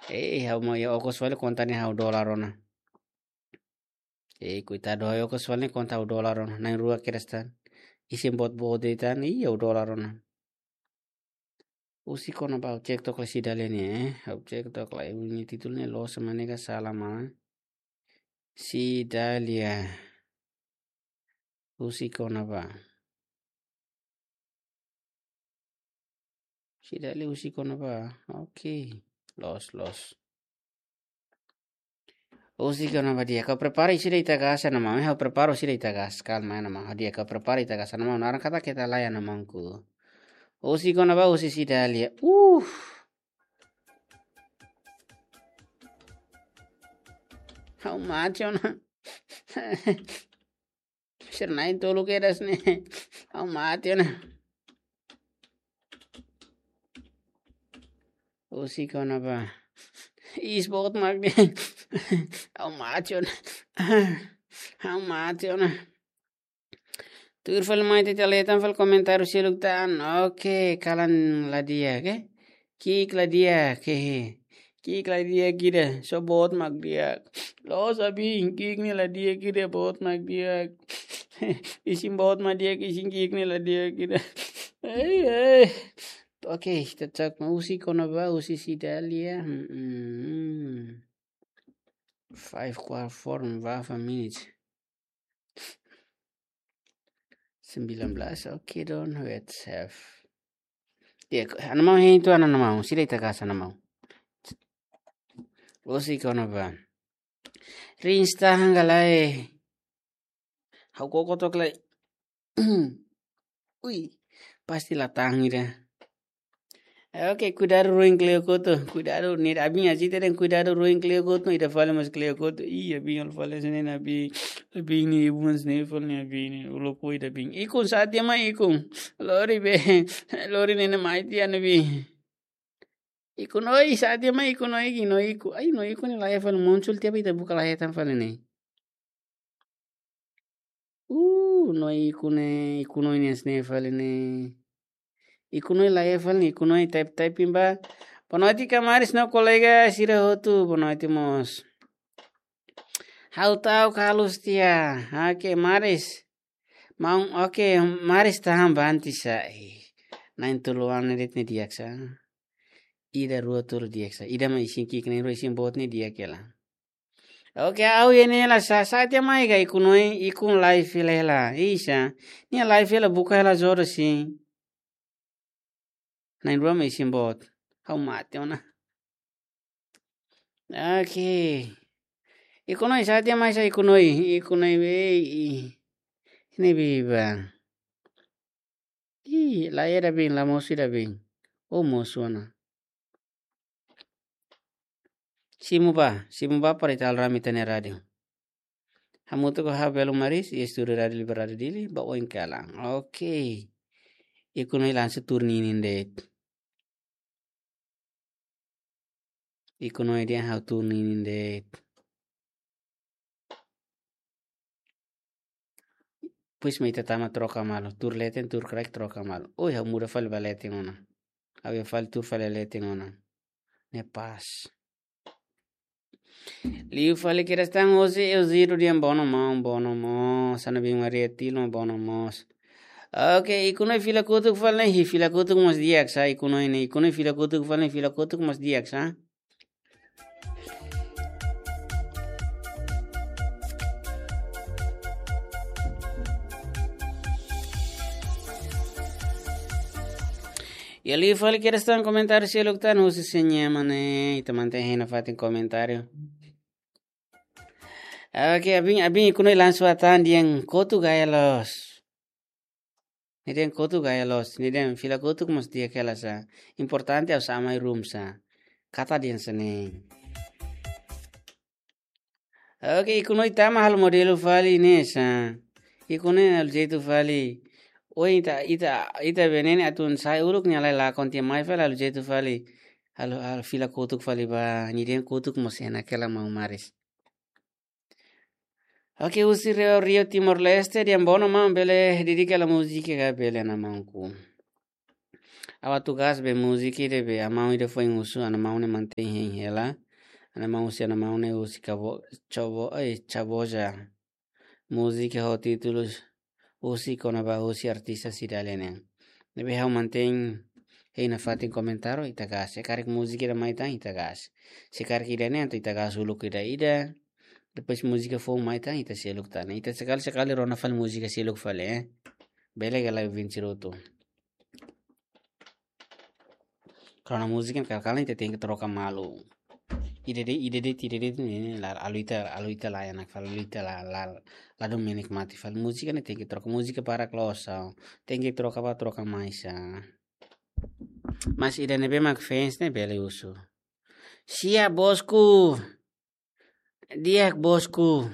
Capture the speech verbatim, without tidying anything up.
Eh, ha'u mai okos fali konta ne'e ha'u dolar ona. Eh, koitadu, ha'u okos fali konta ha'u dolar ona. Na'in-rua kedas tan. Isin boot-boot de'it tan, ih, ha'u dolar ona. Husik ona ba, ha'u cek tok lai Cidalia ne'e, eh. Ha'u cek tok lai, nia títulu ne'e loos, ema ne'e ka sala mai. Cidalia. Husik ona ba. Cidalia husik ona ba. Oke. Loos, loos. Husik ona ba di'ak. Ha'u prepara ida ita gas ona maun. Ha'u prepara ida ita gas. Kalma ona maun. Di'ak, ha'u prepara ita gas ona maun. Naran katak keta laiha ona maunku. Husik ona ba husi Cidalia. Uh. Ha'u mate ona. Sira na'in-tolu kedas ne'e. Ha'u mate ona. Husik ona ba. Iis boot mak ne'e. Ha'u mate ona. Ha'u mate ona. Tuir fali mai, ita leten fali komentáriu seluk tan. Oke, kalan la di'ak, oke. Ki'ik la di'ak, oke. Ki'ik la di'ak ida, só boot mak di'ak. Loos abin, ki'ik ne'e la di'ak ida, boot mak di'ak. Isin boot mak di'ak, isin ki'ik ne'e la di'ak ida. Ei, ei. Oke, ita cek maun, husik ona ba, husi Cidalia. Hmm, hmm. Five, four, four, five minutes. Sembilan belas, oke, don't wait, save. Ya, ana maun hein tu ana maun, sira ita gas ana maun. Husik ona ba. Rins tahan ka lae. Ha'u koko tok lai. Ui, pasti la tahan ida. Oke, kuidadu ruin kleur kotuk. Kuidadu ne'e abin aji te den kuidadu ruin kleur kotuk, ida fali mós kleur kotuk. Ih, abin halo fali sene na abin. Abin ne'e ibun sene fali ne'e abin ne'e. Ulo poi da abin. Ikun sá tiha mai ikun. Lori be. Lori ne'e na mai tiha na abin. Ikun oin sá tiha mai ikun oin ki no iku. Ai, no iku ne'e laiha fali muncul tiha be ita buka laiha tan fali ne'e. Uh, no ikun ne'e, ikun oin ne'e sene fali ne'e. Ikun oin laiha fali ne'e, ikun oin type typing ba. Boa noite, Kamaris no kolega sira hotu. Boa noite, mós. Ha'u ta'uk haluha tiha. Oke, Maris. Maun, oke, Maris tahan banti sa. Eh, na'in-tolu an ne'e de'it ne'e di'ak sa. Ida, rua, tolu di'ak sa. Ida mak isin ki'ik, na'in-rua isin boot ne'e di'ak hela. Oke, ha'u iha ne'e hela sa, sá tiha mai ka ikun oin, ikun live hela hela. Isa. Nia live hela buka hela jodoh sin. Na'in-rua mak isin boot. Ha'u mate ona. Oke. Ikun oin sá tiha mai sa ikun oin. Ikun oin be. Ne'ebé ba. Ih, laiha ida abin, la mosu ida abin. Oh, mosu ona. Simu ba, simu ba para ita halo rame ita-nia rádiu. Hamutuk ho ha'u Belo Maris, iha estúdiu Rádiu Liberdade Dili, ba oin kalan. Oke. Ikun oin langsung tuur ninin de'it. Ikun oin dehan ha'u tuur ninin de'it. Depois mak ita tama troka malu. Tuur leten, tuur kraik, troka malu. Oi, ha'u muda fali ba leten ona. Ha'u iha fali tuur fali leten ona. Ne'e pas. Liu fali kedas tan, José Eusídio dehan bono maun, bono mós. Ana Bim Maria Tilo, bono mós. Oke, ikun oin fila kotuk fali ne'e, hi fila kotuk mós di'ak sa, ikun oin ne'e, ikun oin fila kotuk fali ne'e, fila kotuk mós di'ak sa. Iha liu fali kedas tan komentáriu seluk tan, husi seña mane, ita mantein hein nafatin komentáriu. Oke, abin, abin ikun oin langsung hatán dehan kotuk gaya loos. Nia dehan kotuk gaya loos, nia dehan fila kotuk mós di'ak hela sa. Importante ha'u sa'e mai room sa. Katak dehan sene. Oke, ikun oin tama halo modelu fali ne'e sa. Ikun oin halo jeitu fali. Oin ita, ita, ita be ne'e ne'e atu sa'e uluk nia lai lakon tiha mai fali halo jeitu fali. Halo, halo fila kotuk fali ba, nia dehan kotuk mós enak hela maun Maris. Oke, husi Rio, Rio Timor-Leste, dehan bono maun, bele dedika hela múzika ka bele, ana maunku. Ha'u atu gás be múzika ida be, ha'u-nia maun ida foin husu, ha'u-nia maun ne'e mantein hein hela. Ha'u-nia maun husi, ha'u-nia maun ne'e husi kabo, cobo, eh, caboja. Múzika ho títulu husi kona-ba husi artista Cidalia nian. Ne'ebé ha'u mantein hein nafatin komentáriu, ita gás. Se karik múzika ida mai tan, ita gás. Se karik ida-ne'e, entaun ita gás uluk ida-ida. Depois múzika foun mai tan, ita seluk tan. Ita sekali-sekali rona fali múzika seluk fali, eh. Bele ka lae, ouvinte sira hotu. Karena múzika ne'e kala-kala ita tenke troka malu. Ida de'it, ida de'it, ida de'it, ne'e, la, halo ita, halo ita la enak fali, halo ita la, la, la dún menikmati fali. Múzika ne'e tenke troka, múzika para klosa. Tenke troka ba, troka mai sa. Mas ida ne'ebé mak fans ne'e bele husu. Sia bosku. Di'ak bosku.